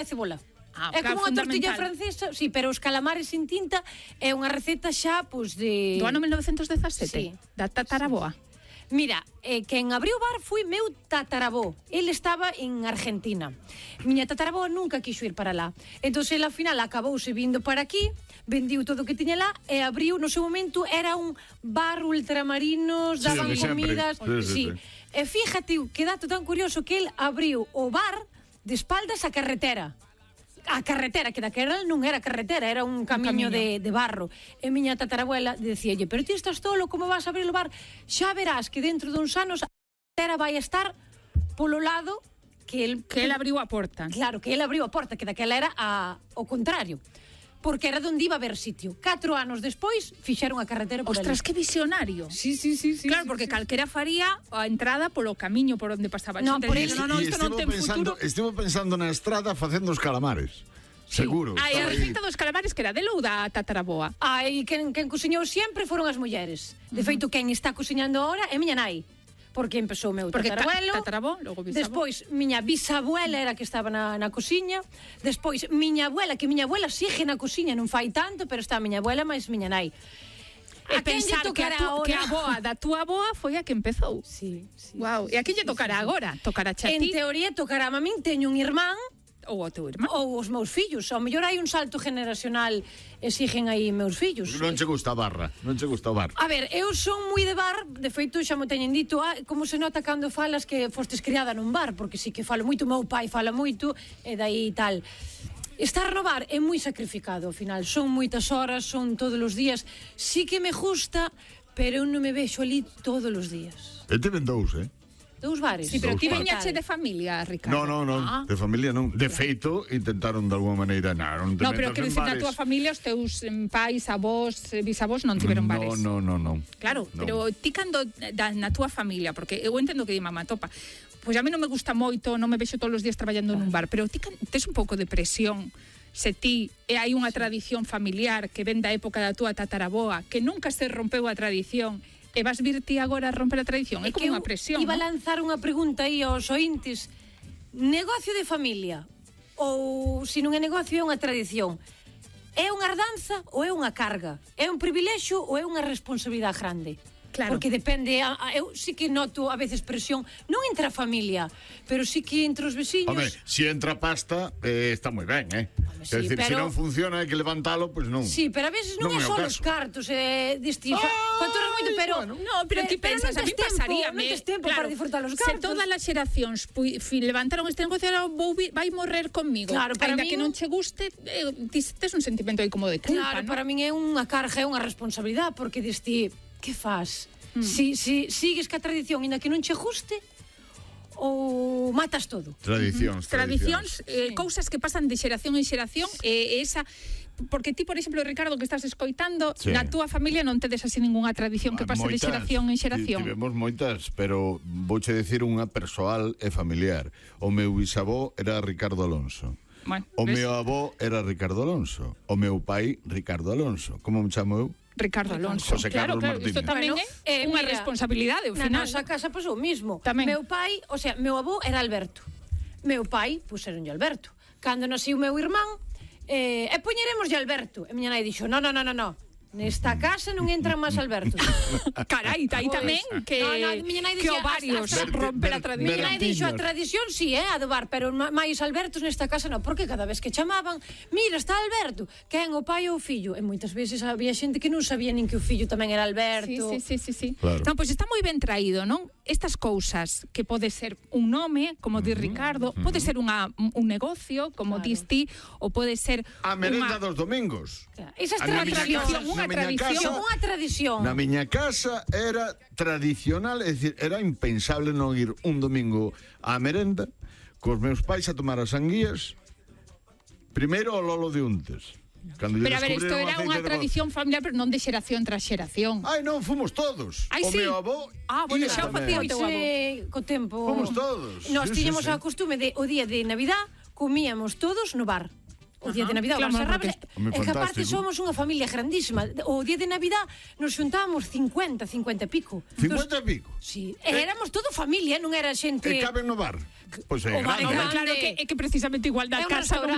e cebola. É como unha tortilla francesa, sí, pero os calamares sin tinta é unha receta xa, pois, de... Do ano 1917, sí. Da tataraboa. Mira, quen abriu o bar foi meu tatarabó. Ele estaba en Argentina. Miña tatarabó nunca quixo ir para lá. Entón, ele, ao final, acabouse vindo para aquí, vendiu todo o que tiña lá e abriu, no seu momento, era un bar ultramarinos, daban comidas... Sí. E fíjate, que dato tan curioso, que ele abriu o bar de espaldas á carretera. A carretera, que daquela non era carretera, era un camiño de barro. E miña tatarabuela decíalle, pero ti estás tolo, como vas a abrir o bar? Xa verás que dentro duns anos a carretera vai estar polo lado que el abriu a porta. Claro, que el abriu a porta, que daquela era o contrario. Porque era donde iba a haber sitio. 4 anos despois fixeron a carretera por ali. Ostras, que visionario. Sí. Claro, porque calquera faría a entrada polo camiño por onde pasaba. No, por eso. No, isto non ten futuro. Estivo pensando na estrada facendo os calamares. Seguro. A receta dos calamares que era dele ou da tataraboa? E quen cociñou sempre foron as mulleres. De feito, quen está cociñando ahora é miña nai. Porque empezou o meu tatarabuelo. Tatarabó, logo bisabó. Despois, miña bisabuela era que estaba na cociña. Despois, miña abuela, que miña abuela sigue na cociña, non fai tanto, pero está miña abuela máis miña nai. A pensar que a boa da túa boa foi a que empezou. Sí. Wow. E a que lle tocará agora? Tocará xa En ti? teoría, tocará a min. Teño un irmán. Ou o teu irmán. Ou os meus fillos. Ao mellor hai un salto generacional, exigen aí meus fillos. Non che gusta a barra, non che gusta o bar. A ver, eu son moi de bar, de feito xa mo teñen dito, como se nota cando falas que fostes criada nun bar, porque sí que falo moito, meu pai fala moito, e dai tal. Estar no bar é moi sacrificado, ao final, son moitas horas, son todos os días, sí que me gusta, pero eu non me vexo ali todos os días. E te ven dous, Dous bares. Sí, pero ti veñache de familia, Ricardo. Non, de familia non. De feito, intentaron de alguma maneira, non te metas en bares. No, pero que dicir, na túa familia, os teus pais, avós, bisavós non tiveron bares. Non. Claro, pero ti cando na túa familia, porque eu entendo que di mamá topa, pois a mí non me gusta moito, non me vexo todos os días traballando nun bar, pero ti tes un pouco de presión se ti hai unha tradición familiar que ven da época da túa tataraboa, que nunca se rompeu a tradición, e vas vir ti agora a romper a tradición. É como unha presión. Iba a lanzar unha pregunta aí aos ointes. Negocio de familia ou se non é negocio é unha tradición? É unha herdanza ou é unha carga? É un privilexio ou é unha responsabilidade grande? Claro. Porque depende, eu sí que noto a veces presión, non entre a familia, pero sí que entre os veciños. Home, se entra pasta, está moi ben, sí, é dicir, pero... se non funciona hai que levantalo, pois non. Sí, pero a veces non é só os cartos, facturas moito, pero... Bueno, no, pero ti pensas, a mí pasaríame. Non tes tempo para disfrutar os cartos. Se todas as xeracións levantaron este negocio, vai morrer conmigo. Claro, para ainda min... que non che guste, tes un sentimento aí como de culpa, claro, ¿no? para min é unha carga, é unha responsabilidade, porque diste... Que faz? Si sigues ca tradición ainda que non che guste ou matas todo? Tradicións, cousas que pasan de xeración en xeración, esa... Porque ti, por exemplo, Ricardo, que estás escoitando, na túa familia non tedes así ningunha tradición que pase de xeración en xeración. Tivemos moitas, pero vouche decir unha persoal e familiar. O meu bisavó era Ricardo Alonso. Bueno, o meu avó era Ricardo Alonso. O meu pai, Ricardo Alonso. Como me chamo eu? Ricardo Alonso. José Carlos Martínez. Isto tamén é unha responsabilidade, ao final. Na nosa casa, pois, o mismo. Tamén. Meu pai, o sea, meu avó era Alberto. Meu pai, puseronlle Alberto. Cando naciu meu irmán, e poñeremoslle Alberto. E miña nai dixo, no. Nesta casa non entran máis Alberto. Carai, aí tamén que ovarios romper a tradición. Miña nai dixo, a tradición si, a do bar, pero máis Albertos nesta casa non, porque cada vez que chamaban, mira, está Alberto, quen, o pai ou o fillo? E moitas veces había xente que non sabía nin que o fillo tamén era Alberto. Sí. Claro. Non, pois está moi ben traído, non? Estas cousas que pode ser un nome, como di Ricardo, pode ser un negocio, como dis ti, ou pode ser a merenda dos domingos. Esa tradición, unha tradición. Na miña casa era tradicional, é dicir, era impensable non ir un domingo á merenda cos meus pais a tomar as anguías. Primeiro o lolo de untes. Pero a ver, isto era unha tradición familiar, pero non de xeración tras xeración. Ai, non, fomos todos. Ai, o meu avó... bueno, xa o facía o teu avó. Co tempo... Fomos todos. Nós tiñamos a costume de, o día de Navidad, comíamos todos no bar. O día de Navidad, o bar cerraba, e que aparte somos unha familia grandísima. O día de Navidad nos xuntábamos 50 e pico. 50 e pico? Sí, éramos todo familia, non era xente... E caben no bar? Pois é, Claro, que precisamente igual da casa non